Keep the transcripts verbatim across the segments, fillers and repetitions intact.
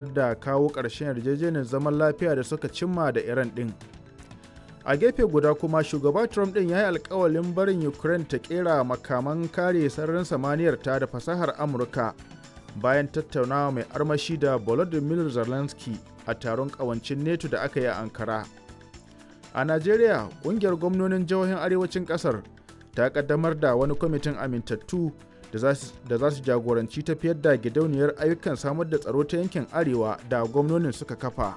Da kawo ƙarshen yarjejeniyar zaman lafiya da suka cimma da Iran ɗin. A gefe guda kuma, shugaba Trump ɗin ya yi alkawalin barin Ukraine ta ƙera makaman kare sararin samaniyar ta da fasahar Amurka bayan tattaunawa mai armashi da Volodymyr Zelensky a taron ƙawancin NATO da aka yi a Ankara. A Najeriya, ƙungiyar gwamnonin jihohin arewacin ƙasar ta ƙaddamar da wani kwamitin amintattu da za su jagoranci tafiyar da gidauniyar ayyukan samar da tsaro ta yankin Arewa da gwamnonin suka kafa.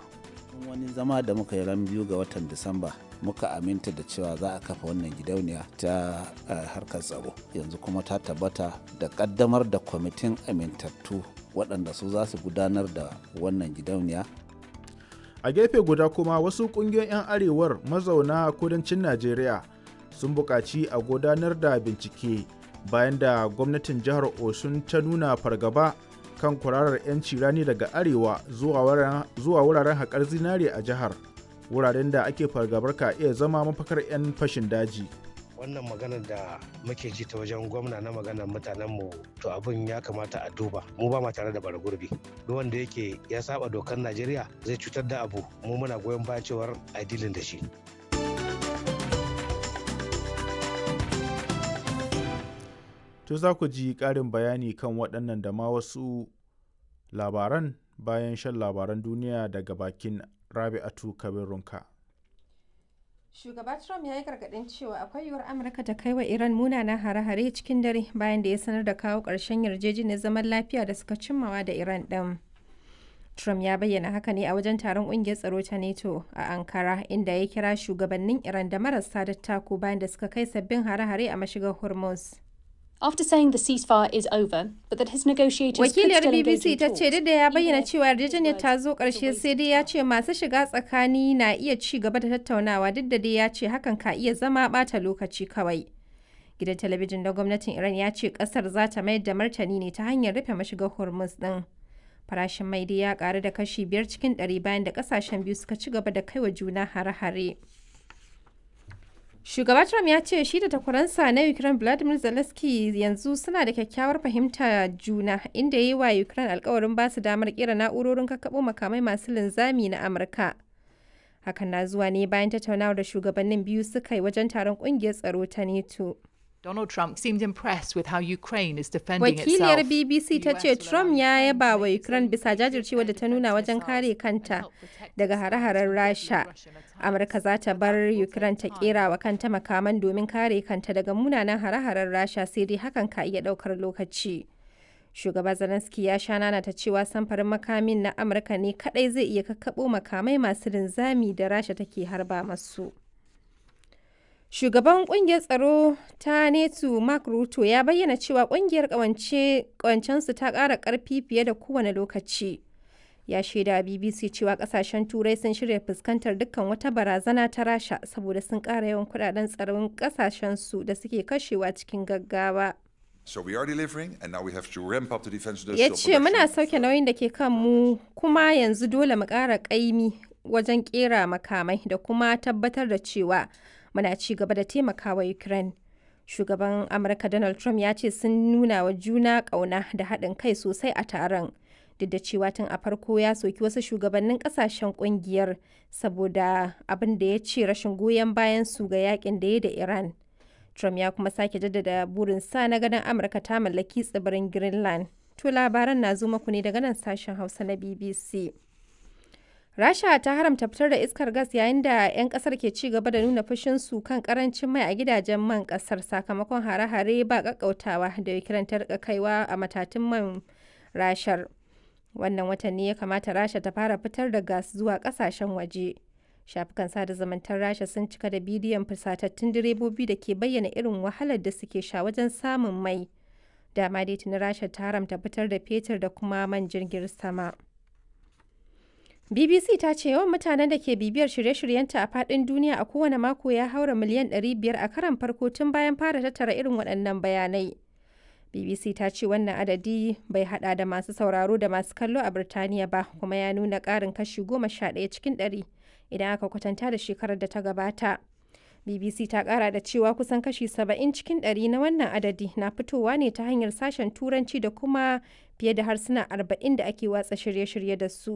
Wani zama da muka yi ran biyu ga watan Disamba, muka aminta da cewa za a kafa wannan gidauniya ta harkar tsaro. Yanzu kuma ta tabbata da kaddamar da kwamitin amintattu waɗanda su za su gudanar da wannan gidauniya. A gefe guda kuma, wasu ƙungiyoyin 'yan arewar mazauna kudancin Najeriya sun buƙaci a gudanar da bincike bayan da gwamnatin jihar Osun ta nuna fargaba kan kwararar 'yanci rani daga arewa zuwa wuraren haƙar zinare a jihar, wuraren da ake fargabar ka iya zama mafakar 'yan fashin daji. Wannan maganar da muke ji ta wajen gwamna na maganar mutanenmu, to abin ya kamata a duba. Mu ba ma tare da bara gurbi. Duk wanda yake ya saba dokar Najeriya zai cutar da abu, mu muna goyon bayan cewar a dilin da shi. To, za ku ji ƙarin bayani kan waɗannan da ma wasu labaran bayan shan labaran duniya daga bakin Rabi'atu Kabir Runka. Shugaba Trump ya yi gargaɗin cewa akwai yiwuwar Amurka ta kai wa Iran munanan hare-hare cikin dare bayan da ya sanar da kawo ƙarshen yarjejeniyar zaman lafiya da suka cimmawa da Iran ɗin. Trump ya bayyana haka ne a wajen taron ƙungiyar tsaro ta NATO a Ankara, inda ya kira shugabannin Iran da marasa dattako bayan da suka kai sabbin hare-hare a mashigar Hormuz. After saying the ceasefire is over, but that his negotiators Wakiliyar B B C ta ce duk da ya bayyana cewa yarjejeniyar ta zo ƙarshe, sai dai ya ce masu shiga tsakani na iya ci gaba da tattaunawa, duk da dai ya ce hakan ka iya zama ɓata lokaci kawai. Gidan talabijin na gwamnatin Iran ya ce ƙasar za ta mayar da martani ne ta hanyar rufe mashigar Hormuz ɗin. Farashin mai dai ya ƙaru da kashi biyar cikin ɗari bayan da ƙasashen biyu suka ci gaba da kaiwa juna hare-hare. Shugaba Trump ya ce shi da takwaransa na Ukraine Vladimir Zelensky yanzu suna da kyakkyawar fahimta juna, inda ya yi wa Ukraine alkawarin ba su damar kera na'urorin kakkaɓo makamai masu linzami na Amurka. Hakan na zuwa ne bayan tattaunawar da shugabannin biyu suka yi wajen taron kungiyar tsaro ta NATO. Donald Trump seemed impressed with how Ukraine is defending Wakiliyar itself. B B C ta ce Trump ya yaba wa Ukraine bisa jajircewa da ta nuna wajen kare kanta daga hare-haren Rasha. Amurka za ta bar Ukraine ta kera wa kanta makaman domin kare kanta daga munanan hare-haren Rasha, sai dai hakan ka iya daukar lokaci. Shugaba Zelensky ya sha nana ta cewa samfarin makamin na Amurka ne kadai zai iya kakkaɓo makamai masu linzami da Rasha take harba masu. Shugaban kungiyar tsaro ta NATO Mark Rutte ya bayyana cewa kungiyar kawancensu ta ƙara ƙarfi fiye da kowane lokaci. Ya shaida B B C cewa kasashen Turai sun shirya fuskantar dukkan wata barazana ta Rasha saboda sun ƙara yawan kudaden tsaron kasashensu da suke kashewa cikin gaggawa. So we are delivering and now we have to ramp up the defense Ya industrial ce muna production. sauke nauyin da ke kanmu, kuma yanzu dole mu ƙara ƙaimi wajen ƙera makamai da kuma tabbatar da cewa muna ci gaba da taimakawa Ukraine. Shugaban Amurka Donald Trump ya ce sun nuna wa juna ƙauna da haɗin kai sosai a taron. Duk da cewa tun a farko ya soki wasu shugabannin ƙasashen ƙungiyar saboda abin da ya ce rashin goyon bayan su ga yakin da ya da Iran. Trump ya kuma sake jaddada burinsa na ganin Amurka ta mallaki tsibirin Greenland. To, labaran na zo muku ne daga nan sashen Hausa na B B C. Rasha ta haramta fitar da iskar gas yayin da 'yan kasar ke ci gaba da nuna fushinsu kan karancin mai a gidajen man kasar sakamakon hare-hare ba kakkautawa da Ukraine ta rika kaiwa a matatun man Rashar. Wannan watan ne ya kamata Rasha ta fara fitar da gas zuwa kasashen waje. Shafukan sada zumuntar Rasha sun cika da bidiyon fusatattun direbobi da ke bayyana irin wahalar da suke sha wajen samun mai. Dama dai tuni Rasha ta haramta fitar da fetur da kuma man jirgin sama. B B C ta ce yawan mutanen da ke bibiyar shirye-shiryenta a faɗin duniya a kowane mako ya haura miliyan ɗari biyar a karon farko tun bayan fara tattara irin waɗannan bayanai. B B C ta ce wannan adadi bai hada da masu sauraro da masu kallo a Birtaniya ba, kuma ya nuna ƙarin kashi goma sha ɗaya cikin ɗari idan aka kwatanta da shekarar da ta gabata. B B C ta kara da cewa kusan kashi saba'in cikin ɗari na wannan adadi na fitowa ne ta hanyar sashen Turanci da kuma fiye da harsuna arba'in da ake watsa shirye-shirye da su.